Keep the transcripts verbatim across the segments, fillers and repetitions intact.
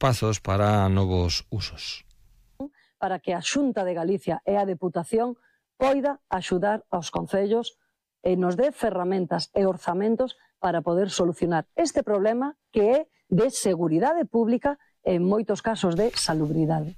espazos para novos usos. Para que a Xunta de Galicia e a Deputación poida axudar aos concellos e nos dé ferramentas e orzamentos para poder solucionar este problema que é de seguridade pública e en moitos casos de salubridade.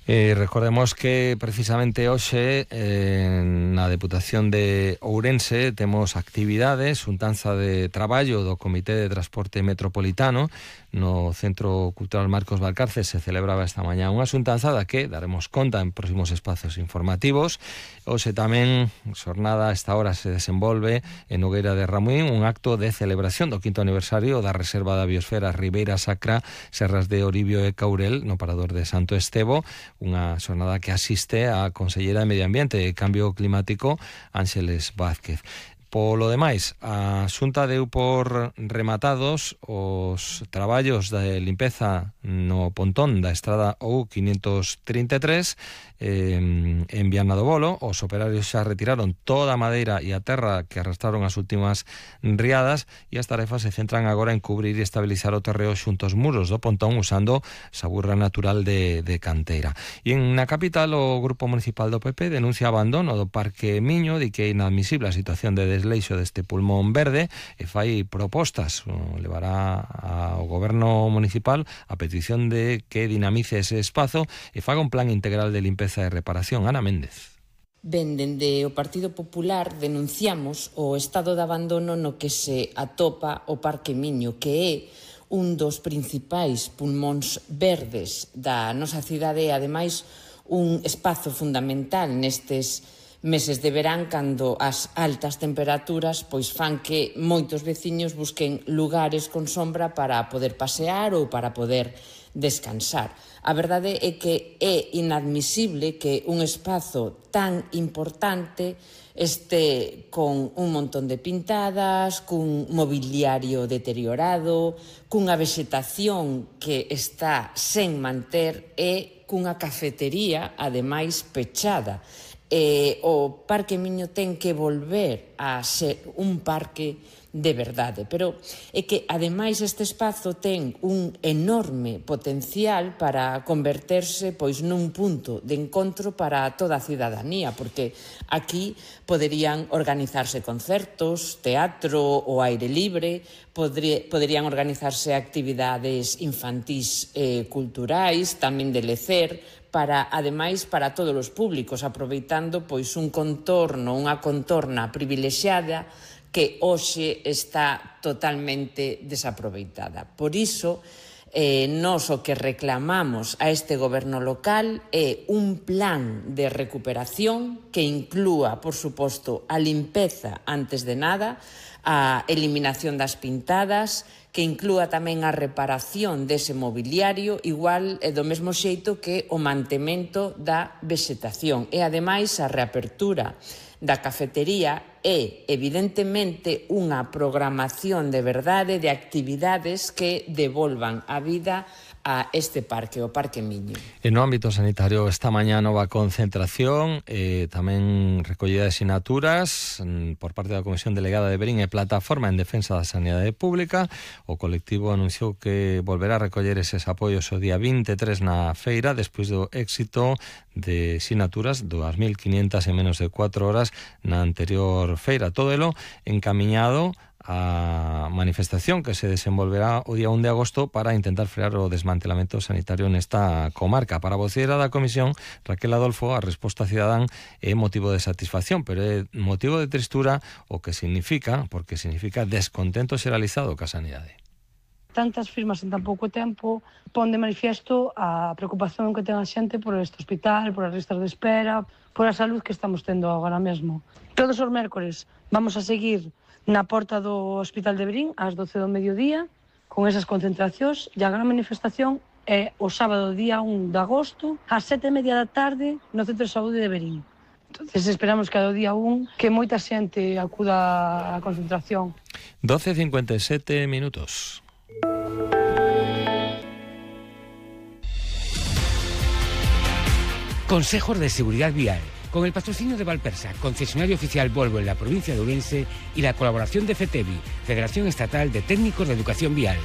Eh, recordemos que precisamente hoxe eh, na Deputación de Ourense temos actividades, xuntanza de traballo do Comité de Transporte Metropolitano no Centro Cultural Marcos Valcarce. Se celebraba esta mañá unha xuntanza da que daremos conta en próximos espazos informativos. Hoxe tamén, xornada a esta hora, se desenvolve en Nogueira de Ramuín un acto de celebración do quinto aniversario da Reserva da Biosfera Ribeira Sacra, Serras de Oribio e Caurel, no Parador de Santo Estevo, unha xornada que asiste a Conselleira de Medio Ambiente e Cambio Climático, Ángeles Vázquez. Polo demais, a Xunta deu por rematados os traballos de limpeza no pontón da estrada O U quinientos trinta e tres eh, en Viana do Bolo. Os operarios xa retiraron toda a madeira e a terra que arrastraron as últimas riadas e as tarefas se centran agora en cubrir e estabilizar o terreo xunto aos muros do pontón usando saburra natural de, de canteira. E en na capital o Grupo Municipal do P P denuncia abandono do Parque Miño, di que é inadmisible a situación de desleixo deste pulmón verde e fai propostas, levará ao Goberno Municipal a petición de que dinamice ese espazo e faga un plan integral de limpeza e reparación. Ana Méndez. Ben, dende o Partido Popular denunciamos o estado de abandono no que se atopa o Parque Miño, que é un dos principais pulmóns verdes da nosa cidade e, ademais, un espazo fundamental nestes meses de verán, cando as altas temperaturas pois fan que moitos veciños busquen lugares con sombra para poder pasear ou para poder descansar. A verdade é que é inadmisible que un espazo tan importante este con un montón de pintadas, cun mobiliario deteriorado, cunha vexetación que está sen manter e cunha cafetería, ademais, pechada. Eh, o Parque Miño ten que volver a ser un parque de verdade, pero é que ademais este espazo ten un enorme potencial para converterse pois nun punto de encontro para toda a cidadanía, porque aquí poderían organizarse concertos, teatro ao aire libre, podría, poderían organizarse actividades infantís e culturais, tamén de lecer, para, ademais, para todos os públicos, aproveitando pois un contorno, unha contorna privilexiada que hoxe está totalmente desaproveitada. Por iso, eh, nós o que reclamamos a este goberno local é un plan de recuperación que inclúa, por suposto, a limpeza antes de nada, a eliminación das pintadas, que inclúa tamén a reparación dese mobiliario, igual e do mesmo xeito que o mantemento da vexetación e, ademais, a reapertura da cafetería e, evidentemente, unha programación de verdade de actividades que devolvan a vida a este parque, o Parque Miño. E no ámbito sanitario, esta mañá nova concentración, eh, tamén recollida de sinaturas por parte da Comisión Delegada de Verín e Plataforma en Defensa da Sanidade Pública. O colectivo anunciou que volverá a recoller eses apoios o día vinte e tres na feira, despois do éxito de sinaturas, dúas mil quinientas en menos de cuatro horas na anterior feira. Todo elo encamiñado a manifestación que se desenvolverá o día un de agosto para intentar frear o desmantelamento sanitario nesta comarca. Para a voceira da Comisión, Raquel Adolfo, a resposta cidadán é motivo de satisfacción, pero é motivo de tristura o que significa, porque significa descontento xeralizado ca sanidade. Tantas firmas en tan pouco tempo pon de manifiesto a preocupación que ten a xente por este hospital, por as listas de espera, por a salud que estamos tendo agora mesmo. Todos os mércores vamos a seguir na porta do Hospital de Verín ás doce do mediodía con esas concentracións e a gran manifestación é o sábado día un de agosto ás sete e media da tarde no Centro de Saúde de Verín. Entonces esperamos que ao día un que moita xente acuda á concentración. doce e cincuenta e sete minutos. Consejos de Seguridad Vial, con el patrocinio de Valpersa, concesionario oficial Volvo en la provincia de Ourense, y la colaboración de FETEVI, Federación Estatal de Técnicos de Educación Vial.